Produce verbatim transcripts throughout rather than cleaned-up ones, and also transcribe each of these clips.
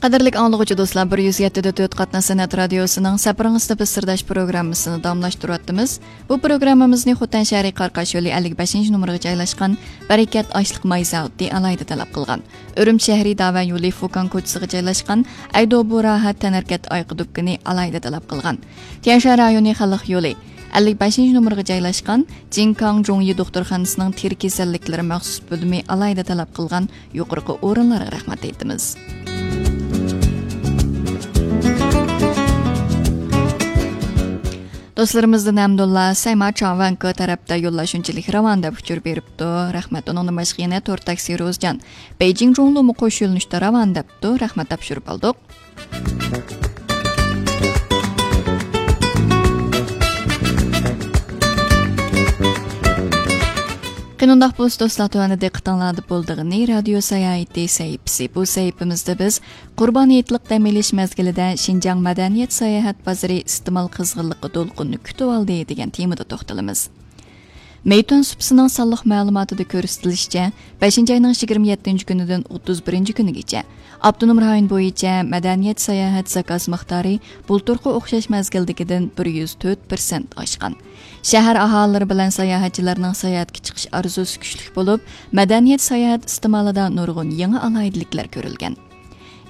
قەدىرلىك ئاڭلىغۇچى دوستلار، بىر يۈز يەتتە دە تۆت قاتناش سەنئەت رادىيوسىنىڭ سەپىرىڭىزدە بىز سىرداش پروگراممىسىنى داۋاملاشتۇرۇۋاتىمىز. بۇ پروگراممىمىزنى خوتەن شەھىرى قاراقاش يولى ئەللىك بەشىنچى نومۇرغا جايلاشقان بەرىكەت ئاشلىق ماي زاۋۇتى ئالاھىدە تەلەپ قىلغان. ئۈرۈمچى شەھىرى داۋەن يولى فۇكاڭ كوچىسىغا جايلاشقان ئەيدوبۇ راھەت تەنھەرىكەت ئايىغى دۇكىنى ئالاھىدە تەلەپ قىلغان. تيەنشان رايونى خەلق يولى ئەللىك بەشىنچى نومۇرغا جايلاشقان جىنكاڭ جۇڭيى دوختۇرخانىسىنىڭ تېرە كېسەللىكلىرى مەخسۇس بۆلۈمى ئالاھىدە تەلەپ قىلغان يۇقىرىقى ئورۇنلارغا رەھمەت ئېيتىمىز. دوستلىرىمىزدىن ھەمدۇللا سەيما چاۋەنكو تەرەپتە يوللار شۇنچىلىك راۋان دەپ ئۇچۇر بېرىپتۇ. رەھمەت. ئۇنىڭدىن باشقا يەنە تور تاكسى روزجان بېيجىڭ جۇڭلۇمۇ قوش يۆنىلىشتە راۋان دەپتۇ. رەھمەت دەپ ئۇچۇرۇپ ئالدۇق. قېنى ئۇنداق بولسا دوستلار، تۆۋەندە دىققىتىڭلاردا بولىدىغىنى رادىيو ساياھىتى سەھىپىسى. بۇ سەھىپىمىزدە بىز قۇربان ھېيتلىق دەم ئېلىش مەزگىلىدە شىنجاڭ مەدەنىيەت ساياھەت بازىرى ئىستېمال قىزغىنلىقى دولقۇنىنى كۈتۈۋالدى دېگەن تېمىدا توختىلىمىز. مېيتۈەن سۇپىسىنىڭ سانلىق مەلۇماتىدا كۆرسىتىلىشىچە، بەشىنچى ئاينىڭ يىگىرمە يەتتىنچى كۈنىدىن ئوتتۇز بىرىنچى كۈنىگىچە ئاپتونوم رايون بويىچە مەدەنىيەت ساياھەت زاكاز مىقدارى بۇلتۇرقى ئوخشاش مەزگىلدىكىدىن بىر يۈز تۆت پىرسەنت ئاشقان. شەھەر ئاھالىلىرى بىلەن ساياھەتچىلەرنىڭ ساياھەتكە چىقىش ئارزۇسى كۈچلۈك بولۇپ، مەدەنىيەت ساياھەت ئىستېمالىدا نۇرغۇن يېڭى ئالاھىدىلىكلەر كۆرۈلگەن.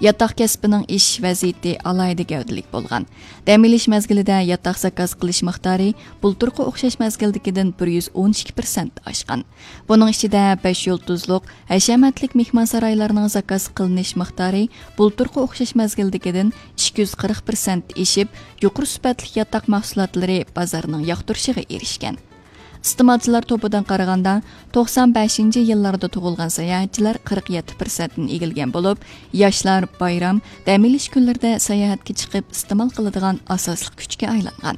ياتاق كەسپىنىڭ ئېشىش ۋەزىيىتى ئالاھىدە گەۋدىلىك بولغان. دەم ئېلىش مەزگىلىدە ياتاق زاكاز قىلىش مىقدارى بۇلتۇرقى ئوخشاش مەزگىلدىكىدىن بىر يۈز ئون ئىككى پىرسەنت ئاشقان. بۇنىڭ ئىچىدە بەش يۇلتۇزلۇق، ھەشەمەتلىك مېھمانسارايلارنىڭ زاكاز قىلىنىش مىقدارى بۇلتۇرقى ئوخشاش مەزگىلدىكىدىن ئىككى يۈز قىرىق پىرسەنت ئېشىپ، يۇقىرى سۈپەتلىك ياتاق مەھسۇلاتلىرى بازارنىڭ ياقتۇرۇشىغا ئېرىشكەن. ئىستېمالچىلار توپىدىن قارىغاندا، توقسان بەشىنچى يىللاردا تۇغۇلغان ساياھەتچىلەر قىرىق يەتتە پىرسەنتتىن ئىگىلىگەن بولۇپ، ياشلار بايرام، دەم ئېلىش كۈنلىرىدە ساياھەتكە چىقىپ ئىستېمال قىلىدىغان ئاساسلىق كۈچكە ئايلانغان.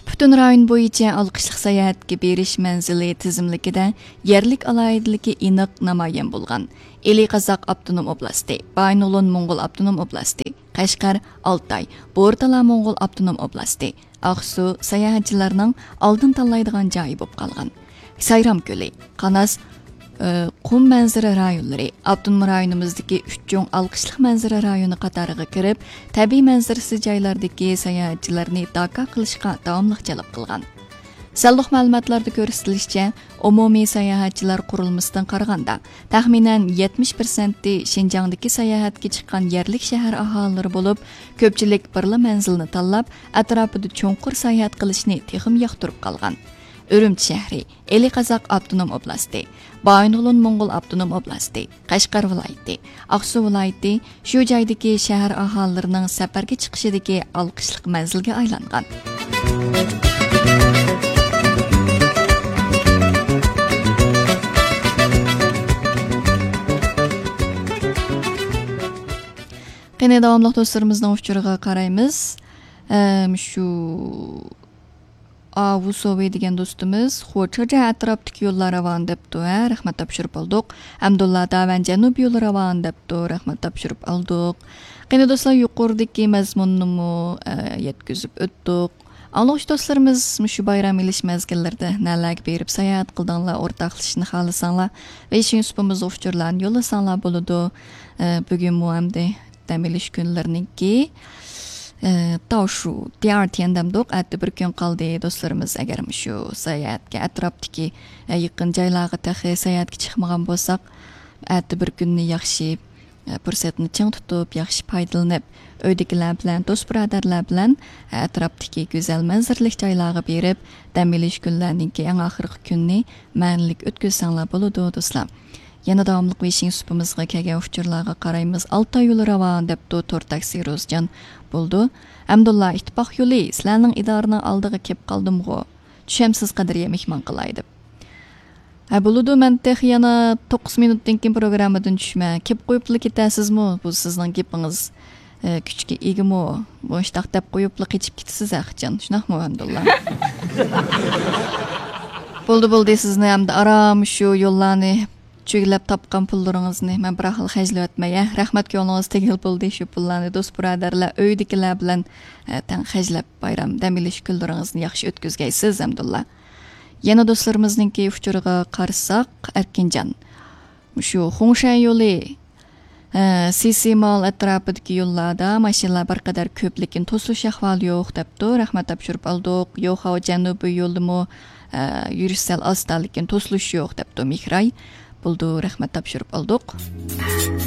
پۈتۈن رايون بويىچە ئالقىشلىق ساياھەتكە بېرىش مەنزىلى تىزىملىكىدە يەرلىك ئالاھىدىلىكى ئېنىق نامايان بولغان ئىلى قازاق ئاپتونوم ئوبلاستى، بايىنغولىن موڭغۇل ئاپتونوم ئوبلاستى، قەشقەر، ئالتاي، بورتالا موڭغۇل ئاپتونوم ئوبلاستى، ئاقسۇ ساياھەتچىلەرنىڭ ئالدىن تاللايدىغان جايى بولۇپ قالغان. سايرام كۆلى، قاناس، ئى، قۇم مەنزىرە رايونلىرى، ئاپتونوم رايونىمىزدىكى ئۈچ چوڭ ئالقىشلىق مەنزىرە رايونى قاتارىغا كىرىپ، تەبىئىي مەنزىرىسى جايلاردىكى ساياھەتچىلەرنى داكا قىلىشقا داۋاملىق جەلپ قىلغان. سانلىق مەلۇماتلاردا كۆرسىتىلىشىچە، ئومۇمىي ساياھەتچىلەر قۇرۇلمىسىدىن قارىغاندا، تەخمىنەن يەتمىش پىرسەنتى شىنجاڭدىكى ساياھەتكە چىققان يەرلىك شەھەر ئاھالىلىرى بولۇپ، كۆپچىلىك بىرلا مەنزىلنى تاللاپ، ئەتراپىدا چوڭقۇر ساياھەت قىلىشنى تېخىمۇ ياقتۇرۇپ قالغان. ئۈرۈمچى شەھىرى، ئىلى قازاق ئاپتونوم ئوبلاستى، بايىنغولىن موڭغۇل ئاپتونوم ئوبلاستى، قەشقەر ۋىلايىتى، ئاقسۇ ۋىلايىتى شۇ جايدىكى شەھەر ئاھالىلىرىنىڭ سەپەرگە چىقىشىدىكى ئالقىشلىق مەنزىلگە ئايلانغان. قېنى، داۋاملىق دوستلىرىمىزنىڭ ئۇچۇرىغا قارايمىز. ئەم، شۇ ئاۋۇ سوۋى دېگەن دوستىمىز، خوچاجا ئەتراپتىكى يوللار راۋان دەپتۇ، ھە، رەھمەت تاپشۇرۇپ ئالدۇق. ئەمدۇللا داۋەن جەنۇب يولى راۋان دەپتۇ، رەھمەت تاپشۇرۇپ ئالدۇق. قېنى دوستلار، يۇقىرىدىكى مەزمۇننىمۇ، ئە، يەتكۈزۈپ ئۆتتۇق. ئاڭلىغۇچى دوستلىرىمىز مۇشۇ بايرام ئېلىش مەزگىللىرىدە نەلەرگە بېرىپ ساياھەت قىلدىڭلار، ئورتاقلىشىشنى خالىساڭلار، ۋېيشىن سۇپىمىزغا ئۇچۇرلارنى يوللىساڭلار بولىدۇ. ئە، بۈگۈنمۇ ئەمدى دەم ئېلىش كۈنلىرىنىڭكى، ئە، تاۋشۇ، دىئارتيەن دەمدۇق، ئەتە بىر كۈن قالدى. دوستلىرىمىز، ئەگەر مۇشۇ ساياھەتكە ئەتراپتىكى، ئە، يېقىن جايلارغا تېخى ساياھەتكە چىقمىغان بولساق، ئەتە بىر كۈننى ياخشى، ئە، پۇرسەتنى چىڭ تۇتۇپ، ياخشى پايدىلىنىپ، ئۆيدىكىلەر بىلەن، دوست بۇرادەرلەر بىلەن، ئە، ئەتراپتىكى گۈزەل مەنزىرىلىك جايلارغا بېرىپ، دەم ئېلىش كۈنلەرنىڭكى ئەڭ ئاخىرقى كۈنىنى مەنىلىك ئۆتكۈزسەڭلار بولىدۇ، دوستلار. يەنە داۋاملىق ۋېيشىن سۇپىمىزغا كەلگەن ئۇچۇرلارغا قارايمىز. ئالتاي يولى راۋان دەپتۇ، تور تاكسى روزجان. بولىدۇ. ئەمدۇللا، ئىتتىپاق يولى، سىلەرنىڭ ئىدارىنىڭ ئالدىغا كېلىپ قالدىمغۇ؟ چۈشەمسىز، قەدرىيە مېھمان قىلاي دەپ. ھە، بولىدۇ، مەن تېخى يەنە توققۇز مىنۇتتىن كېيىن پروگراممىدىن چۈشىمەن. كېلىپ قويۇپلا كېتەسىزمۇ؟ بۇ سىزنىڭ گېپىڭىز، ئە، كۈچكە ئىگىمۇ؟ مۇشۇنداق دەپ قويۇپلا قېچىپ كېتىسىز ھەقىچان، شۇنداقمۇ، ئەمدۇللا؟ بولدى، بولدى، سىزنى ئەمدى ئارام شۇ يوللارنى چۈگىلەپ تاپقان پۇللىرىڭىزنى مەن بىراقلا خەجلىۋەتمەي، ھە؟ رەھمەت، كۆڭلىڭىز تېگىل بولدى. شۇ پۇللارنى دوست بۇرادەرلەر، ئۆيدىكىلەر بىلەن، ئە، تەڭ خەجلەپ، بايرام دەم ئېلىش كۈنلىرىڭىزنى ياخشى ئۆتكۈزگەيسىز، ئەمدۇللا. يەنە دوستلىرىمىزنىڭكى ئۇچۇرىغا قارىساق، ئەركىنجان. مۇشۇ خۇڭشەن يولى، سىسى مال ئەتراپىدىكى يوللاردا ماشىنىلار بىر قەدەر كۆپ، لېكىن توسۇلۇش ئەھۋالى يوق دەپتۇ. رەھمەت تاپشۇرۇپ ئالدۇق. يوخاۋ جەنۇبىي يولىمۇ، ئە، يۈرۈش سەل ئاستا، لېكىن توسۇلۇش يوق دەپتۇ مېھراي. بولدى، رەھمەت تاپشۇرۇپ ئالدۇق.